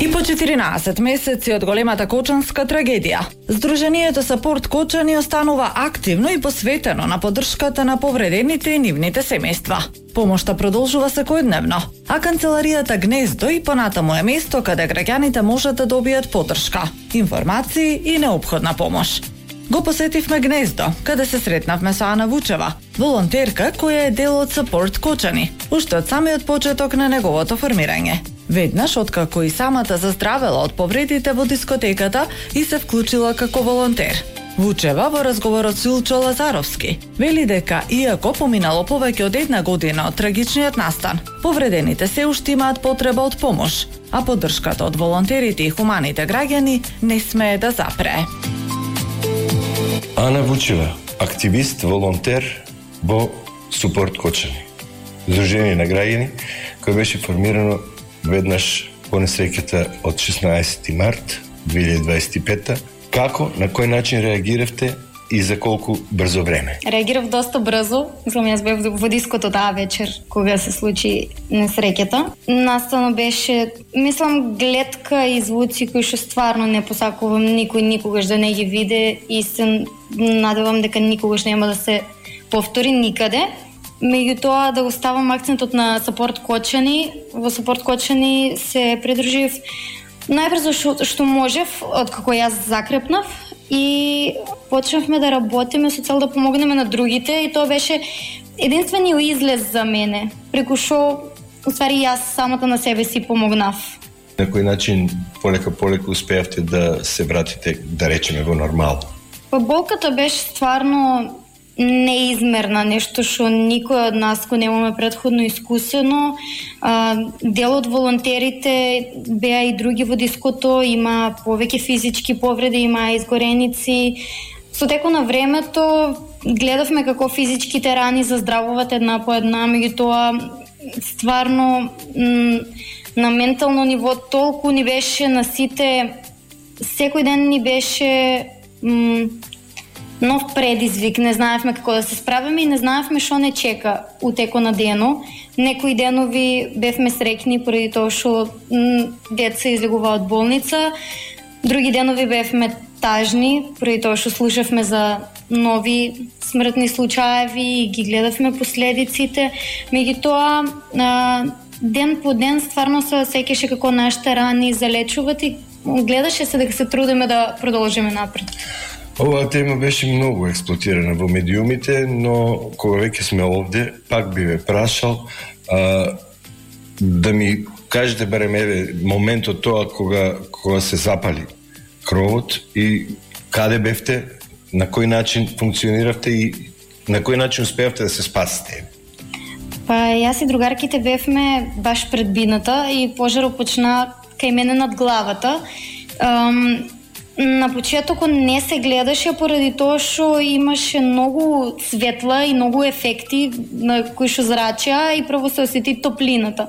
И по 14 месеци од големата кочанска трагедија, Сдруженијето Сапорт Кочани останува активно и посветено на поддршката на повредените и нивните семејства. Помошта продолжува секојдневно, а канцеларијата Гнездо и понатаму е место каде граѓаните можат да добијат поддршка, информации и неопходна помош. Го посетивме Гнездо, каде се сретнавме со Ана Вучева, волонтерка која е дел од Сапорт Кочани, уште од самиот почеток на неговото формирање. Веднаш откако и самата заздравела од повредите во дискотеката и се вклучила како волонтер. Вучева во разговорот со Илчо Лазаровски вели дека иако поминало повеќе од 1 година од трагичниот настан, повредените се уште имаат потреба од помош, а поддршката од волонтерите и хуманите граѓани не смее да запрее. Ана Вучева, активист, волонтер во Сапорт Кочани, Сдружение на граѓани кој беше формирано веднаш по несреќата од 16 март 2025. Како, на кој начин реагиравте и за колку брзо време? Реагирав доста брзо. Мислам, јас бев во диското таа вечер кога се случи несреќата. Настано беше, мислам, гледка и звуци кои што стварно не посакувам никој никогаш да не ги виде и се надевам дека никогаш нема да се повтори никаде. Меѓутоа да го ставам акцентот на Сапорт Кочани. Во Сапорт Кочани се придружив најбрзо што можев, откако јас закрепнав и почнавме да работиме со цел да помогнеме на другите и тоа беше единствениот излез за мене, преку што уствари јас самата на себе си помогнав. На кој начин полека успеавте да се вратите, да речеме, во нормал? Па болката беше стварно неизмерна, нешто што никој од нас го немаме претходно искусено. Дел од волонтерите беа и други во диското, има повеќе физички повреди, има изгореници. Со текот на времето гледавме како физичките рани заздравуваат една по една, меѓутоа стварно на ментално ниво толку ни беше на сите, секој ден ни беше нов предизвик, не знаевме како да се справиме и не знаевме што не чека у теко на дено. Некои денови бевме среќни поради тоа што деца излегува од болница, други денови бевме тажни поради тоа што слушавме за нови смртни случаеви и ги гледавме последиците. Меѓутоа ден по ден стварно се сеќаше како нашите рани залечуваат и гледаше се дека се трудиме да продолжиме напред. Оваа тема беше многу експлоатирана во медиумите, но кога веќе сме овде, пак би ве прашал да ми кажете барем моментот тоа кога се запали кровот и каде бевте, на кој начин функциониравте и на кој начин успеавте да се спасите? Па јас и другарките бевме баш пред бината и пожарот почна кај мене над главата. На почетокот не се гледаше поради тоа што имаше многу светла и многу ефекти на кои што зрачеа и прво се осети топлината.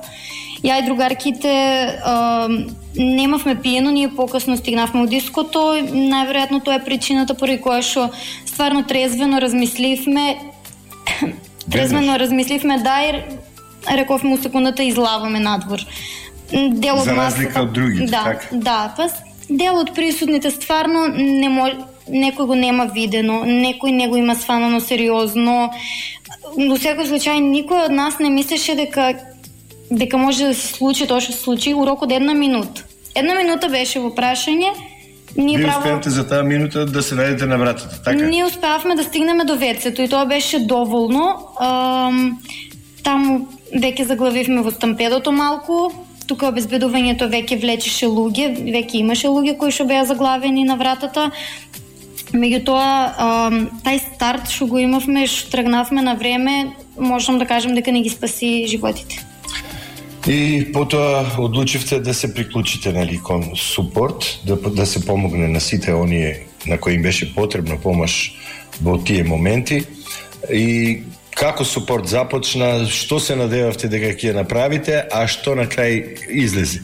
Ја и другарките немавме пиено, ние покасно стигнавме од диското, најверојатно тоа е причината поради која што стварно трезвено размисливме, да, и рековме у секундата излаваме надвор. За разлика од другите, така? Да, па дел од присутните стварно некој го нема видено, некој не го има сванано сериозно. Во секој случај никој од нас не мислеше дека може да се случи тоа што се случи у рок од 1 минута. 1 минута беше во прашање. Вие успеавте за таа минута да се најдете на вратата, така? Ние успеавме да стигнеме до вецето и тоа беше доволно. Таму веќе заглавивме во стампедото малку. Тука обезбедувањето веќе влечеше луѓе, веќе имаше луѓе кои што беа заглавени на вратата. Меѓутоа, тај старт што го имавме, што тргнавме на време, можам да кажам дека не ги спаси животите. И потоа одлучивте да се приклучите кон Супорт, да се помогне на сите оние на кои им беше потребна помош во тие моменти. И како Супорт започна, што се надевавте дека ќе направите, а што на крај излезе?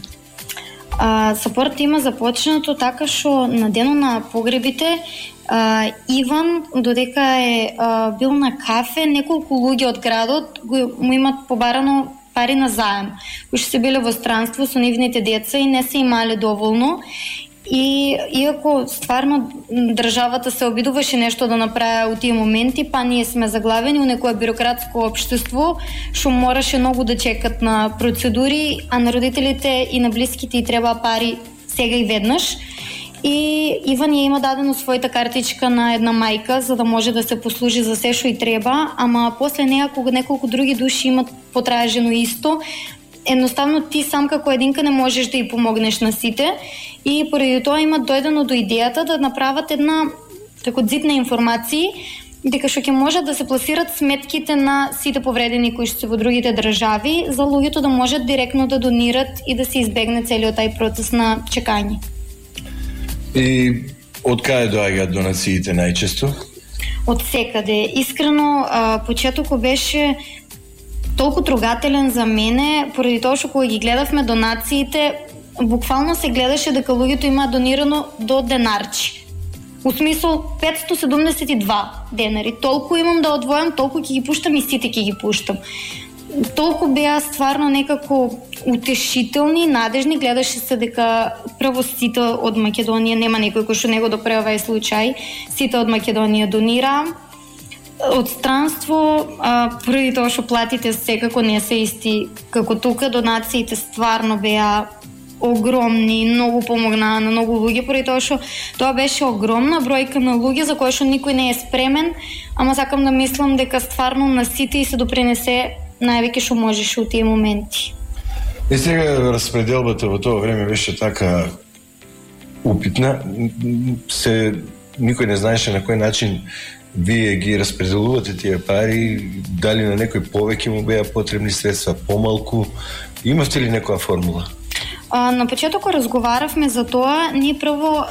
Супорт има започнато така што на денот на погребите Иван, додека е бил на кафе, неколку луѓе од градот му имат побарано пари на заем, кои се биле во странство со нивните деца и не се имале доволно. И иако стварно државата се обидуваше нешто да направи у тие моменти, па ние сме заглавени у некое бюрократско општество што мораше многу да чекат на процедури, а на родителите и на блиските и треба пари сега и веднаш. И Иван ја има дадено својата картичка на една мајка за да може да се послужи за се што и треба, ама после неа кога неколку други души имат потражено исто, едноставно ти сам како единка не можеш да ја помогнеш на сите и поради тоа имат дојдено до идејата да направат една како зид на информации дека што ќе можат да се пласират сметките на сите повредени кои што се во другите држави за луѓето да можат директно да донират и да се избегне целиот тај процес на чекање. И од каде доаѓаат донациите најчесто? Од секаде. Искрено, почетокот беше толку трогателен за мене, поради тоа што кога ги гледавме донациите, буквално се гледаше дека луѓето имаат донирано до денарчи. У смисол 572 денари. Толку имам да одвојам, толку ќе ги пуштам и сите ќе ги пуштам. Толку беа стварно некако утешителни, надежни, гледаше се дека прво сите од Македонија, нема некој кој што не го допрева е случај, сите од Македонија донира. Од странство, први тоа што платите секако не се исти како тука, донациите стварно беа огромни, многу помогнаа на многу луѓе, поради тоа што тоа беше огромна бројка на луѓе за која што никој не е спремен, ама сакам да мислам дека стварно на сите и се допринесе највеќе што можеше у тие моменти. И сега распределбата во тоа време беше така упитна, никој не знаеше на кој начин вие ги распределувате тие пари, дали на некој повеќе му беа потребни средства, помалку, имавте ли некоја формула? На почетокот разговаравме за тоа, ние прво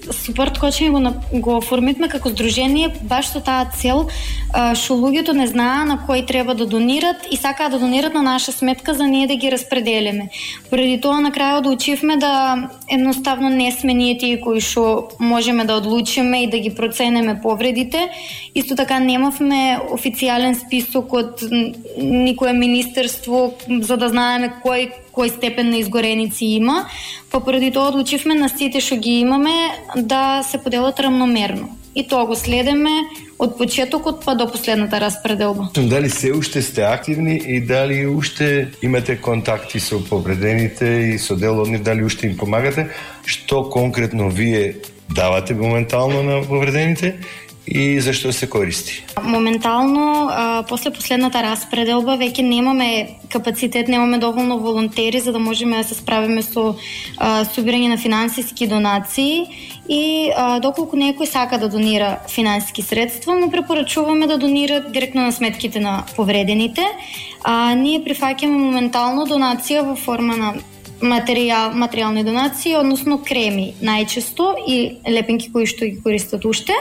Суперт кочење го оформивме како здружение баш со таа цел што луѓето не знаат на кој треба да донират и сакаат да донират на наша сметка за ние да ги распределиме. Поради тоа на крајот учивме да едноставно не сме ние тие кои што можеме да одлучиме и да ги проценеме повредите. Исто така немавме официјален список од никое министерство за да знаеме кој степен на изгореници има, па поради тоа одлучивме на сите што ги имаме да се поделат рамномерно. И тоа го следеме од почетокот па до последната распределба. Дали се уште сте активни и дали уште имате контакти со повредените и со дел од нив, дали уште им помагате? Што конкретно вие давате моментално на повредените? И зашто се користи? Моментално, после последната распределба, веќе немаме капацитет, немаме доволно волонтери за да можеме да се справиме со собирање на финансиски донации и доколку некој сака да донира финансиски средства, му препорачуваме да донира директно на сметките на повредените. Ние прифаќаме моментално донација во форма на материјални донации, односно креми најчесто и лепенки кои што ги користат уште.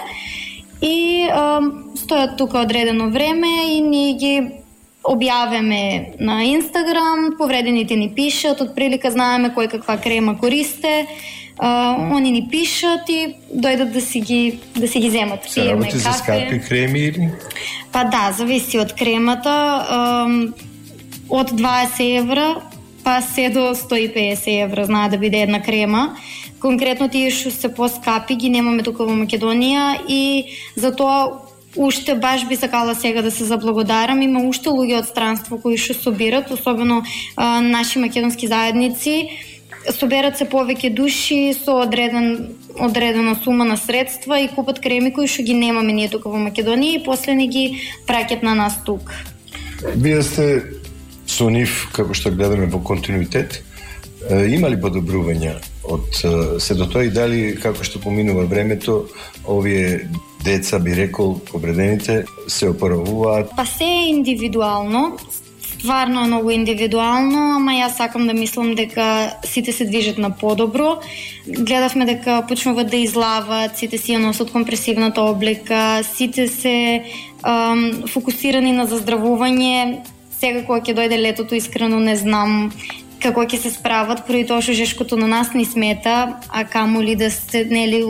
И стојат тука одредено време и ние ги објавиме на Инстаграм, повредените ни пишат, од прилика знаеме кој каква крема користе, они ни пишат и дојдат да си ги земат. Се работи за скапи креми или? Па да, зависи од кремата, од 20 евра па се до 150 евра знае да биде една крема. Конкретно тие што се поскапи ги немаме тука во Македонија и затоа уште баш би сакала сега да се заблагодарам. Има уште луѓе од странство кои што собират, особено наши македонски заедници. Соберат се повеќе души со одредена сума на средства и купат креми кои што ги немаме ние тука во Македонија и после ни ги праќат на нас тука. Вие сте со нив, како што гледаме во континуитет, има ли подобрувања од се до тоа и дали како што поминува времето овие деца, би рекол, повредените се опоравуваат? Па се е индивидуално, стварно е многу индивидуално, ама јас сакам да мислам дека сите се движат на подобро. Гледавме дека почнуваат да излават, сите си ја носат компресивната облека, сите се фокусирани на заздравување. Сега кога ќе дојде летото, искрено не знам како ќе се справат, поради тоа што жешкото на нас не смета, а камоли да сте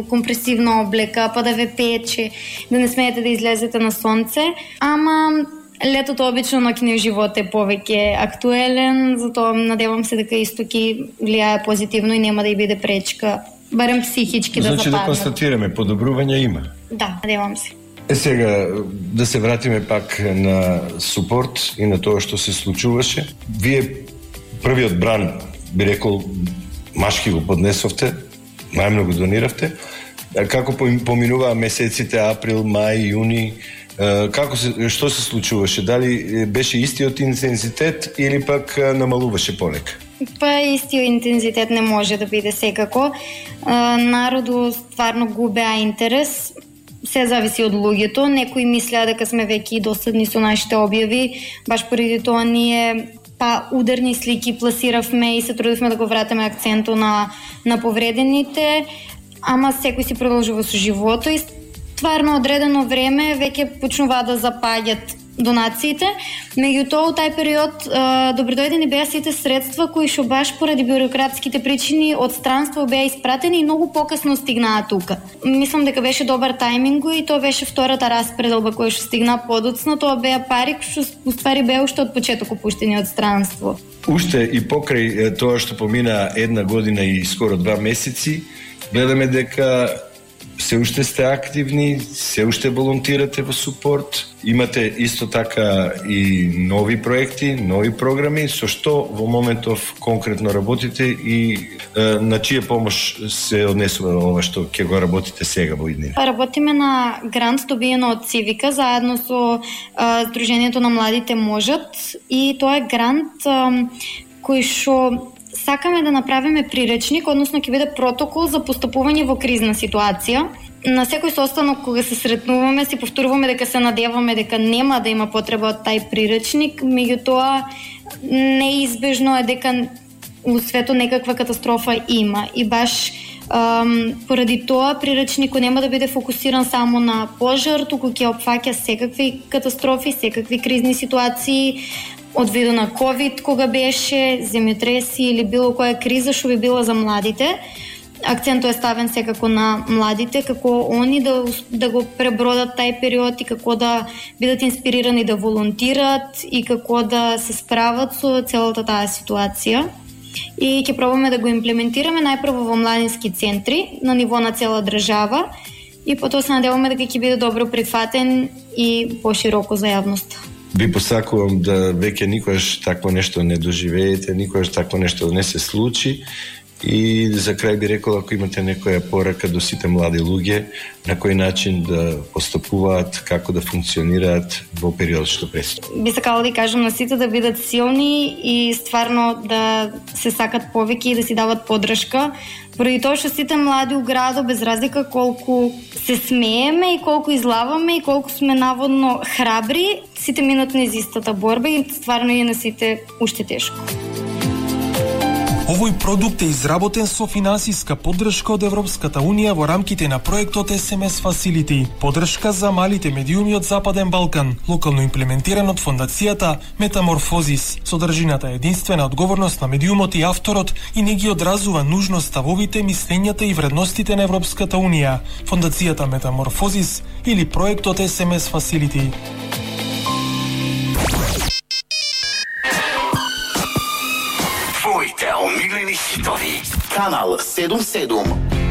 компресивна облека, па да ве пече, да не смеете да излезете на сонце. Ама Летото обично ноќниот живот е повеќе актуелен, затоа надевам се дека исто ќе влијае позитивно и нема да и биде пречка, барем психички да западнат. Значи да констатираме, подобрување има. Да, надевам се. Сега да се вратиме пак на супорт и на тоа што се случуваше. Вие првиот бран, би рекол, машки го поднесовте, најмногу дониравте. Како поминуваа месеците април, мај, јуни, што се случуваше? Дали беше истиот интензитет или пак намалуваше полека? Па истиот интензитет не може да биде секако. Народу стварно губеа интерес. Се зависи од луѓето. Некои мислеа дека сме веќе досадни со нашите објави, баш поради тоа ние ударни слики пласиравме и се трудивме да го вратиме акцентот на повредените, ама секој си продолжува со живото и стварно одредено време веќе почнуваа да запаѓат донациите. Меѓутоа, у тај период добродојдени беа сите средства кои што баш поради бюрократските причини од странство беа испратени и многу покасно стигнаа тука. Мислам дека беше добар тајминг и тоа беше втората распределба која што стигна подоцна. Тоа беа пари што уствари беа уште од почеток опуштени од странство. Уште и покрај тоа што помина една година и скоро 2 месеци, гледаме дека се уште сте активни, се уште волонтирате во супорт, имате исто така и нови проекти, нови програми, со што во моментов конкретно работите и на чија помош се однесува ова што ќе го работите сега во иднина? Работиме на грант добиено од Цивика заедно со Сдруженијето на младите можат и тоа е грант кој што сакаме да направиме приречник, односно ќе биде протокол за постапување во кризна ситуација. На секој состанок кога се сретнуваме, си повторуваме дека се надеваме дека нема да има потреба од тај приречник, меѓутоа неизбежно е дека у светот некаква катастрофа има и баш поради тоа приречникот нема да биде фокусиран само на пожар, туку ќе опфаќа секакви катастрофи, секакви кризни ситуации, од виду на ковид кога беше, земјотреси или било која криза што би била за младите. Акцентот е ставен секако на младите, како они да го пребродат тај период и како да бидат инспирирани да волонтират и како да се справат со целата таа ситуација. И ќе пробаме да го имплементираме најпрво во младински центри на ниво на цела држава и потоа се надеваме дека ќе биде добро прифатен и пошироко за јавноста. Ви посакувам да веќе никогаш такво нешто не доживеете, никогаш такво нешто не се случи. И за крај би рекол, ако имате некоја порака до сите млади луѓе, на кој начин да постапуваат, како да функционираат во период што предстои. Би сакала да кажам на сите да бидат силни и стварно да се сакат повеќе и да си дават поддршка, поради тоа што сите млади у градот, без разлика колку се смееме и колку излаваме и колку сме наводно храбри, сите минат низ истата борба и стварно е на сите уште тешко. Овој продукт е изработен со финансиска поддршка од Европската Унија во рамките на проектот SMS Facility, поддршка за малите медиуми од Западен Балкан, локално имплементиран од фондацијата Метаморфозис. Содржината е единствена одговорност на медиумот и авторот и не ги одразува нужно ставовите, мислењата и вредностите на Европската Унија, фондацијата Метаморфозис или проектот SMS Facility. Твоите омилени хитови. Канал 77.